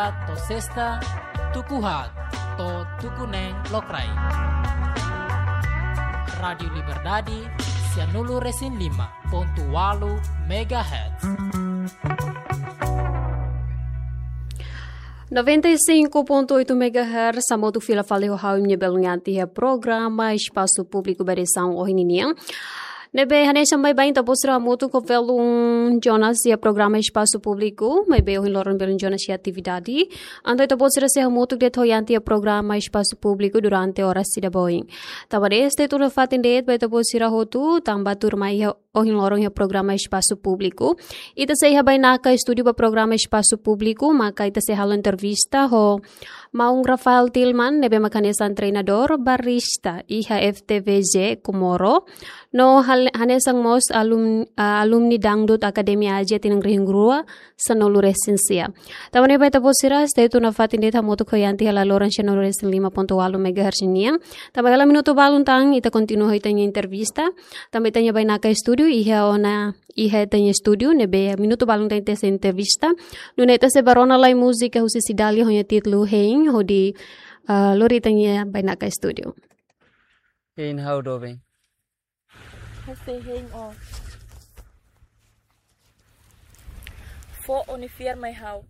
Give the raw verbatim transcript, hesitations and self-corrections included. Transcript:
To'o sesta, tuku haat to'o tuku neen lokraik. Rádiu Liberdade, sianulu-resin-lima pontu ualu megahertz. Noventa e cinco ponto oito megahertz, hamutuk fila fali ho ha'u, Nia Belun Yanti, iha programa Espasu Públiku ba edisaun ohin nian. Ne'ebé hanesan baibain ita-boot sira hamutuk ho belun Jonas iha programa Espasu Públiku, maibé ohin loron belun Jonas iha atividade. Entaun ita-boot sira sei hamutuk de'it ho Yanti iha programa Espasu Públiku durante oras ida ba oin. Tanba ne'e, stay tune nafatin de'it ba ita-boot sira hotu, tanba tuirmai iha ohin loron iha programa Espasu Públiku. Ita sei iha bainaka estúdiu ba programa Espasu Públiku, maka ita sei halo entrevista ho maun Rafael Tilman, ne'ebé mak hanesan treinadór barista iha F T V J Comoro. No hal-, hanesan mós alum-, ah, alumni Dangdut Academy Asia tinan rihun rua sanulu-resin-sia. Tanba ne'e ba ita-boot sira, stay tune nafatin de'it hamutuk ho Yanti hela loron sianulu-resin-lima pontu ualu megahertz nian. Tanba hela minutu balun tan, ita kontinua ho ita-nia entrevista. Tanba ita-nia bainaka estúdiu iha ona, iha ita-nia estúdiu, ne'ebé minutu balun tan ita sei entrevista. Nune'e ita sei bá rona lai múzika husi Cidalia ho nia títulu Hein, hodi, ah, lori ita-nia bainaka estúdiu. Hein, ha'u doben. Ha'u sei hein ó. Fó ó-nia fiar mai ha'u.